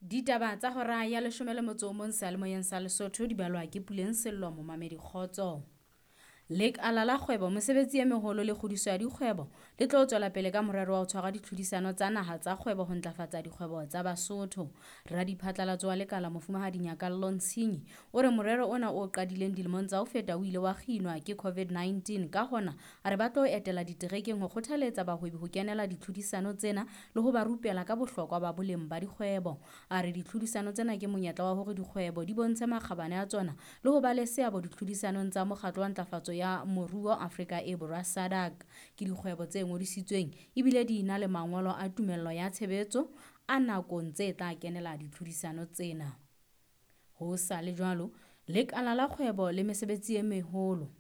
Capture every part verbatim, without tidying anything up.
Ditaba tsa hora ya leshome le motso o mong seyalemoyeng sa Lesotho di balwa ke Puleng Sello momamedi kgotso. Lekala la kgwebo, mesebetsi e meholo le kgodiso ya dikgwebo le tlo tswela pele ka morero wa ho tshwara ditlhodisano tsa naha tsa kgwebo ho ntlafatsa dikgwebo tsa Basotho. Radiphatlalatso wa lekala Mofumahadi Nyakallo Ntshinyi o re morero ona o qadileng dilemong tsa ho feta o ile wa kginwa ke COVID nineteen. Ka hona a re ba tlo etela diterekeng ho kgothaletsa bahwebi ho kenela ditlhodisano tsena le ho ba rupela ka bohlokwa ba boleng ba dikgwebo. A re ditlhodisano tsena ke monyetla wa hore dikgwebo di bontshe makgabane a tsona le ho ba le seabo ditlhodisanong tsa mokgatlo wa ntlafatso ya moruo Afrika e Borwa SADC. Ke dikgwebo tse ngodisitsweng ebile di na le mangolo a tumello ya tshebetso a nakong tse tla kenela ditlhodisano tsena. Ho sa le jwalo, lekala la kgwebo le mesebetsi e meholo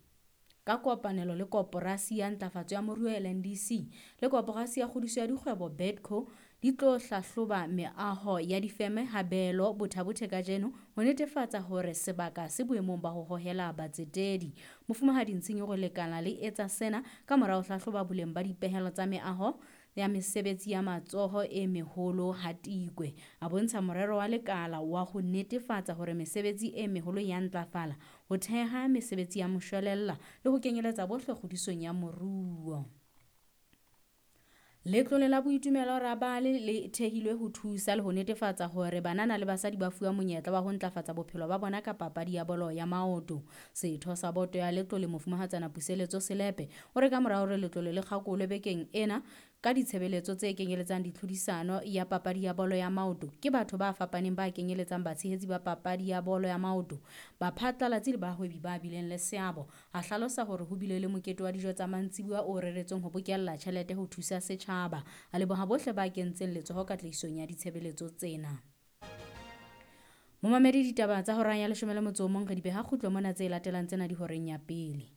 ka kopanelo le Koporasi ya Ntlafatso ya Moruo L N D C le Koporasi ya Kgodiso ya Dikgwebo B E D C O di tlo hlahloba meaho ya difeme habelo Botha-Bothe kajeno ho netefatsa hore sebaka se boemong ba ho hohela batsetedi. Mofumahadi Ntshinyi o re lekala le etsa sena ka mora ho hlahloba boleng ba dipehelo tsa meaho ya mesebetsi ya matsoho e meholo ha Tikwe. A bontsha morero wa lekala wa ho netefatsa hore mesebetsi e meholo ya ntlafala, ho theha mesebetsi ya moshwelella le ho kenyeletsa bohle kgodisong ya moruo. Letlole la boitumelo Rabale le thehilwe ho thusa le ho netefatsa hore banana le basadi ba fuwa monyetla wa ho ntlafatsa bophelo ba bona ka papadi ya bolo ya maoto. Setho sa boto ya letlole Mofumahatsana Puseletso Selepe o re ka mora hore letlole le kgakolwe bekeng ena ka ditshebeletso tse kenyeletsang ditlhodisano ya papadi ya bolo ya maoto ke batho ba fapaneng ba kenyeletsang batshehetsi ba papadi ya bolo ya maoto, baphatlalatsi le bahwebi ba bileng le seabo. A hlalosa hore ho bile le mokete wa dijo tsa mantsibuya o reretsweng ho bokella tjhelete ho thusa setjhaba. A leboha bohle ba kentseng letsoho katlehisong ya ditshebeletso tsena. Momamedi, ditaba tsa hora ya leshome le motso o mong re di beha kgutlo mona, tse latelang tsena di horeng ya pele.